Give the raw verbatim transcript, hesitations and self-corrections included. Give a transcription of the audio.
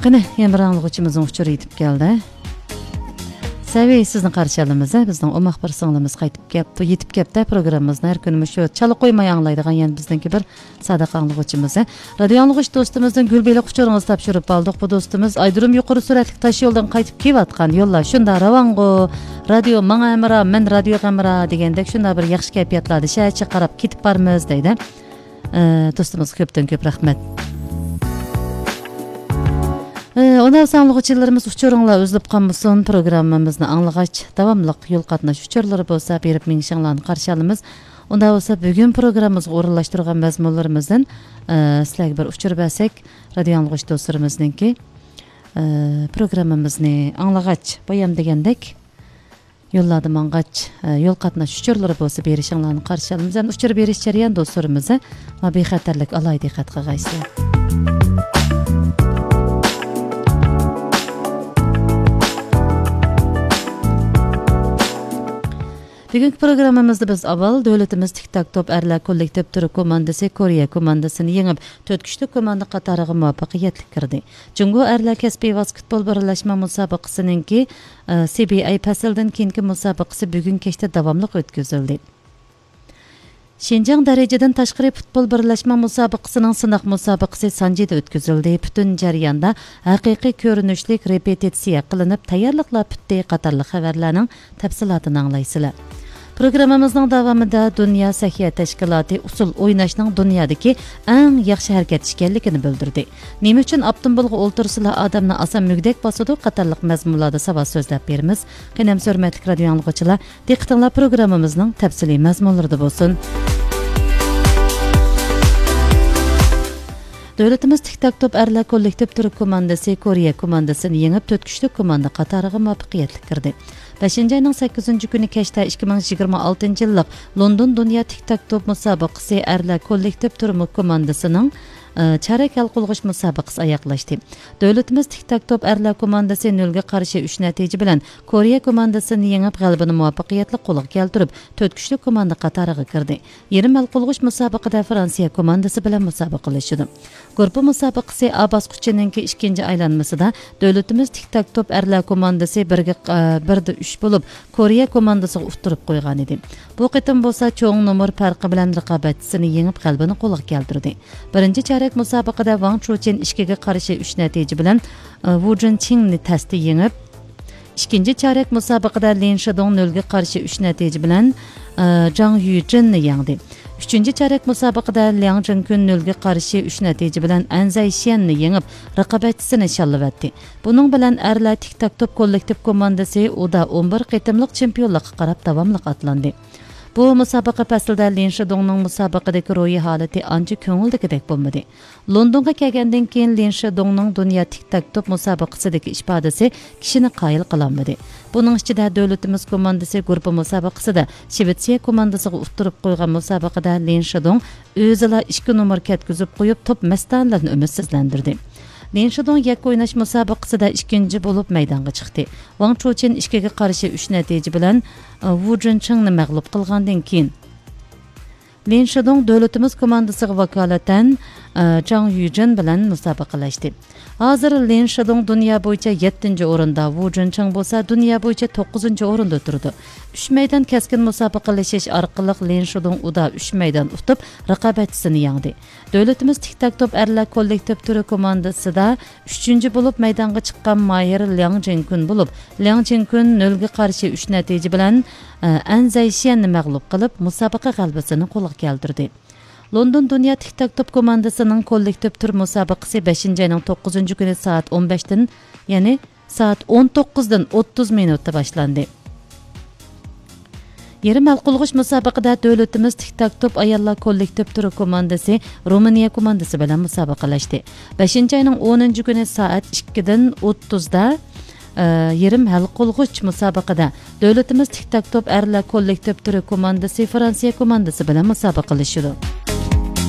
قېنى، يەنە بىر ئاڭلىغۇچىمىزنىڭ ئۇچۇرى يېتىپ كەلدى. سەۋىي، سىزنى قارشى ئالىمىز. بىزنىڭ ئوماق بىر سىڭلىمىز قايتىپ كەپتۇ، يېتىپ كەپتۇ. پروگراممىمىزنى ھەر كۈنى مۇشۇ چالا قويماي ئاڭلايدىغان يەنە بىزنىڭكى بىر سادىق ئاڭلىغۇچىمىز. رادىيو ئاڭلىغۇچ دوستىمىزدىن گۈل بېلىق ئۇچۇرىڭىزنى تاپشۇرۇپ ئالدۇق. بۇ دوستىمىز ئايرودروم يۇقىرى سۈرئەتلىك تاش يولدىن قايتىپ كېلىۋاتقان يوللار شۇنداق راۋانغۇ. رادىيو ماڭا ھەمراھ، مەن رادىيوغا ھەمراھ دېگەندەك شۇنداق بىر ياخشى كەيپىياتلاردا شەھەرچە قاراپ كېتىپ بارىمىز دەيدۇ. ئە، دوستىمىزغا كۆپتىن كۆپ رەھمەت. ئە، ئۇنداق بولسا ئاڭلىغۇچىلىرىمىز ئۇچۇرۇڭلار ئۈزۈلۈپ قالمىسۇن. پروگراممىمىزنى ئاڭلىغاچ، داۋاملىق يول قاتناش ئۇچۇرلىرى بولسا بېرىپ مېڭىشىڭلارنى قارشى ئالىمىز. ئۇنداق بولسا بۈگۈن پروگراممىمىزغا ئورۇنلاشتۇرغان مەزمۇنلىرىمىزدىن، ئە، سىلەرگە بىر ئۇچۇر بەرسەك، رادىيو ئاڭلىغۇچ دوستلىرىمىزنىڭكى، ئە، پروگراممىمىزنى ئاڭلىغاچ، بايام دېگەندەك، يوللاردا ماڭغاچ، ئە، يول قاتناش ئۇچۇرلىرى بولسا بېرىشىڭلارنى قارشى ئالىمىز. ھەم ئۇچۇر بېرىش جەريانىدا دوستلىرىمىز، ئە، ما بىخەتەرلىك ئالاھىدە دىققەت قىلغايسىلەر. بۈگۈنكى پروگراممىمىزدا بىز ئاۋۋال دۆلىتىمىز تىك تاك توپ ئەرلەر كوللېكتىپ تۈرى كوماندىسى كورېيە كوماندىسىنى يېڭىپ، تۆت كۈچلۈك كوماندا قاتارىغا مۇۋەپپەقىيەتلىك كىردى. جۇڭگو ئەرلەر كەسپىي ۋاسكېتبول بىرلەشمە مۇسابىقىسىنىڭكى، ئى، سى بى ئەي پەسلىدىن كېيىنكى مۇسابىقىسى بۈگۈن كەچتە داۋاملىق ئۆتكۈزۈلدى. شىنجاڭ دەرىجىدىن تاشقىرى پۇتبول بىرلەشمە مۇسابىقىسىنىڭ سىناق مۇسابىقىسى سانجىدا ئۆتكۈزۈلدى. پۈتۈن جەرياندا ھەقىقىي كۆرۈنۈشلۈك رېپېتىتسىيە قىلىنىپ، تەييارلىقلار پۈتتى قاتارلىق خەۋەرلەرنىڭ تەپسىلاتىنى ئاڭلايسىلەر. پروگراممىمىزنىڭ داۋامىدا دۇنيا سەھىيە تەشكىلاتى ئۇسسۇل ئويناشنىڭ دۇنيادىكى ئەڭ ياخشى ھەرىكەت ئىكەنلىكىنى بىلدۈردى. نېمە ئۈچۈن ئاپتوموبىلغا ئولتۇرسىلا ئادەمنى ئاسان مۈگدەك باسىدۇ قاتارلىق مەزمۇنلاردا ساۋات سۆزلەپ بېرىمىز. قېنى ئەمسە ھۆرمەتلىك رادىيو ئاڭلىغۇچىلار، دىققىتىڭلار پروگراممىمىزنىڭ تەپسىلىي مەزمۇنلىرىدا بولسۇن. دۆلىتىمىز تىك تاك توپ ئەرلەر كوللېكتىپ تۈرى كوماندىسى كورېيە كوماندىسىنى يېڭىپ، تۆت كۈچلۈك كوماندا قاتارىغا مۇۋەپپەقىيەتلىك كىردى. بەشىنچى ئاينىڭ سەككىزىنچى كۈنى كەچتە ئىككى مىڭ يىگىرمە ئالتىنچى يىللىق لوندون دۇنيا تىك تاك توپ مۇسابىقىسى ئەرلەر كوللېكتىپ تۈرى كوماندىسىنىڭ، ئى، چارەك ھەل قىلغۇچ مۇسابىقىسى ئاياغلاشتى. دۆلىتىمىز تىك تاك توپ ئەرلەر كوماندىسى نۆلگە قارشى ئۈچ نەتىجە بىلەن كورېيە كوماندىسىنى يېڭىپ، غەلىبىنى مۇۋەپپەقىيەتلىك قولغا كەلتۈرۈپ، تۆت كۈچلۈك كوماندا قاتارىغا كىردى. يېرىم ھەل قىلغۇچ مۇسابىقىدە فرانسىيە كوماندىسى بىلەن مۇسابىقىلىشىدۇ. گۇرۇپپا مۇسابىقىسى ئا باسقۇچىنىڭكى ئىككىنچى ئايلانمىسىدا دۆلىتىمىز تىك تاك توپ ئەرلەر كوماندىسى بىرگە، ئە، بىردە ئۈچ بولۇپ، كورېيە كوماندىسىغا ئۇتتۇرۇپ قويغانىدى. بۇ قېتىم بولسا چوڭ نومۇر پەرقى بىلەن رىقابەتچىسىنى يېڭىپ، غەلىبىنى قولغا كەلتۈردى. بىرىنچى چارەك مۇسابىقىدە ۋاڭ چۇچىن ئىككىگە قارشى ئۈچ نەتىجە بىلەن، ئە، ۋۇ جىنچىڭنى تەستە يېڭىپ، ئىككىنچى چارەك مۇسابىقىدە لىن شىدۇڭ نۆلگە قارشى ئۈچ نەتىجە بىلەن، ئى، جاڭ يۈجىننى يەڭدى. ئۈچىنچى چارەك مۇسابىقىدە لياڭ جىنكۈن نۆلگە قارشى ئۈچ نەتىجە بىلەن ئەن زەيشيەننى يېڭىپ، رىقابەتچىسىنى شاللىۋەتتى. بۇنىڭ بىلەن ئەرلەر تىك تاك توپ كوللېكتىپ كوماندىسى ئۇدا ئون بىر قېتىملىق چېمپىيونلۇققا قاراپ داۋاملىق ئاتلاندى. بۇ مۇسابىقە پەسلىدە لىن شىدۇڭنىڭ مۇسابىقىدىكى روھىي ھالىتى ئانچە كۆڭۈلدىكىدەك بولمىدى. لوندونغا كەلگەندىن كېيىن لىن شىدۇڭنىڭ دۇنيا تىك تاك توپ مۇسابىقىسىدىكى ئىپادىسى كىشىنى قايىل قىلالمىدى. بۇنىڭ ئىچىدە دۆلىتىمىز كوماندىسى گۇرۇپپا مۇسابىقىسىدە شىۋېتسىيە كوماندىسىغا ئۇتتۇرۇپ قويغان مۇسابىقىدە لىن شىدۇڭ ئۆزىلا ئىككى نومۇر كەتكۈزۈپ قويۇپ، توپ مەستانىلەرنى ئۈمىدسىزلەندۈردى. لىن شىدۇڭ يەككە ئويناش مۇسابىقىسىدە ئىككىنچى بولۇپ مەيدانغا چىقتى. ۋاڭ چۇچىن ئىككىگە قارشى ئۈچ نەتىجە بىلەن، ئى، ۋۇ جىنچىڭنى مەغلۇپ قىلغاندىن كېيىن، لىن شىدۇڭ دۆلىتىمىز كوماندىسىغا ۋاكالىتەن، ئى، جاڭ يۈجىن بىلەن مۇسابىقىلەشتى. ھازىر لىن شىدۇڭ دۇنيا بويىچە يەتتىنچى ئورۇندا، ۋۇ جىنچىڭ بولسا دۇنيا بويىچە توققۇزىنچى ئورۇندا تۇرىدۇ. ئۈچ مەيدان كەسكىن مۇسابىقىلىشىش ئارقىلىق لىن شىدۇڭ ئۇدا ئۈچ مەيدان ئۇتۇپ، رىقابەتچىسىنى يەڭدى. دۆلىتىمىز تىك تاك توپ ئەرلەر كوللېكتىپ تۈرى كوماندىسىدا ئۈچىنچى بولۇپ مەيدانغا چىققان ماھىر لياڭ جىنكۈن بولۇپ، لياڭ جىنكۈن نۆلگە قارشى ئۈچ نەتىجە بىلەن، ئە، ئەن زەيشيەننى مەغلۇپ قىلىپ، مۇسابىقە غەلىبىسىنى قولغا كەلتۈردى. لوندون دۇنيا تىك تاك توپ كوماندىسىنىڭ كوللېكتىپ تۈر مۇسابىقىسى بەشىنچى ئاينىڭ توققۇزىنچى كۈنى سائەت ئون بەشتىن، يەنى سائەت ئون توققۇزدىن ئوتتۇز مىنۇتتا باشلاندى. يېرىم ھەل قىلغۇچ مۇسابىقىدە دۆلىتىمىز تىك تاك توپ ئاياللار كوللېكتىپ تۈرى كوماندىسى رومىنىيە كوماندىسى بىلەن مۇسابىقىلەشتى. بەشىنچى ئاينىڭ ئونىنچى كۈنى سائەت ئىككىدىن ئوتتۇزدا، ئە، يېرىم ھەل قىلغۇچ مۇسابىقىدە دۆلىتىمىز تىك تاك توپ ئەرلەر كوللېكتىپ تۈرى كوماندىسى فرانسىيە كوماندىسى بىلەن مۇسابىقىلىشىدۇ.